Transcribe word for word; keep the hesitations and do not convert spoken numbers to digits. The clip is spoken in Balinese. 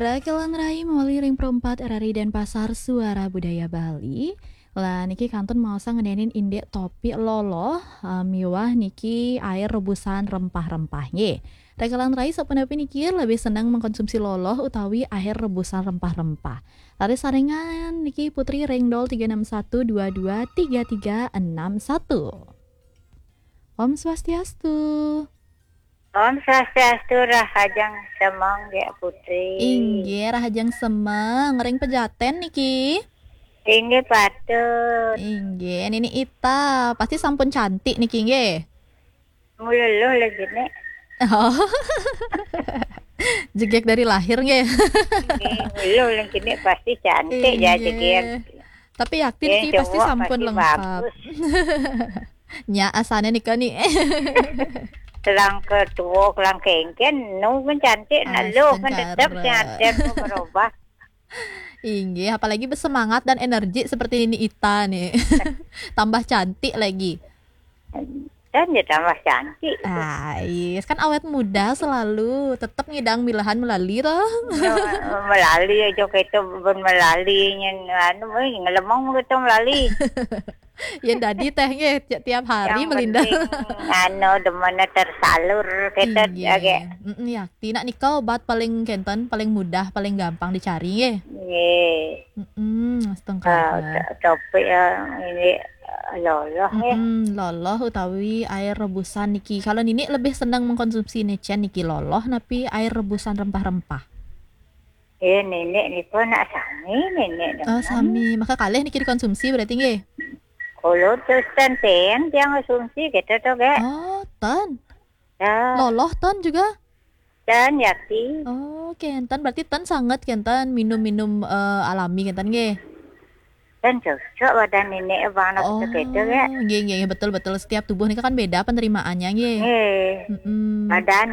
Rakelan Rai mawali ring Pro empat R R I Denpasar, Suara Budaya Bali. Lah niki kantun maosang ngenenin indik topik loloh, eh, miwah niki air rebusan rempah-rempah nggih. Rakelan Rai sapunapi niki lebih seneng mengkonsumsi loloh utawi air rebusan rempah-rempah? Raris saringan niki Putri ring nol tiga enam satu dua dua tiga tiga enam satu. Om Swastiastu. Om Swastiastu, rahajeng semeng, Gék Putri. Inggih, rahajeng semeng. Ring Pejaten niki? Inggih, patut. Inggih, Nini Ita. Pasti sampun cantik niki, nggih? Muleluh lagi nih. Oh. Jegég dari lahir, nggih? Inggih, muleluh lagi nih, pasti cantik ya, Inggih. Jegég. Tapi yakti Nggih, niki pasti cowok sampun pasti lengkap. Bagus. Nya asane nika ni. Kelang ke tua, kelang kengken, nu kan cantik, nak luh kan tetep Astagfirullah. Cantik, berubah. Inggih, apalagi bersemangat dan energi seperti Nini Ita nih. Tambah cantik lagi. Dan ya tambah cantik. Ah, yes. Kan awet muda selalu. Tetep ngidang milahan melali toh. Ya, melali aja kita pun melali nyen anu, eh, ngelemong kita melali. Yang dadi teh nggih, ti-, tiap hari Yang melinda. Penting, anu, demennya tersalur, kita Inggih. Agak Mm-mm, yakti. Nak nika obat paling kenten, paling mudah, paling gampang dicari nggih. Nggih. Mm-mm, setengkah. Ah, to-, topik ya, ini, eh, loloh ya. Mm-mm, loloh utawi air rebusan niki. Kalau Nini lebih senang mengkonsumsi necen niki loloh napi air rebusan rempah-rempah? Eh, Nini niku nak sami, Nini Oh, demen. Sami. Maka kalih niki dikonsumsi berarti nggih? Kalau terus ten tiang konsumsi gitu tuh, Gék. Oh, ten. Ya. Loloh ten juga? Ten, yakti. Oh, kenten. Berarti ten sangat kenten minum-minum, eh, alami kenten nggih? Ten cocok badan Nini bang nak Oh, gitu, Gék. Nggih, nggih, nggih, betul, betul. Setiap tubuh nika kan beda penerimaannya nggih. Nggih. Mm-mm. Badan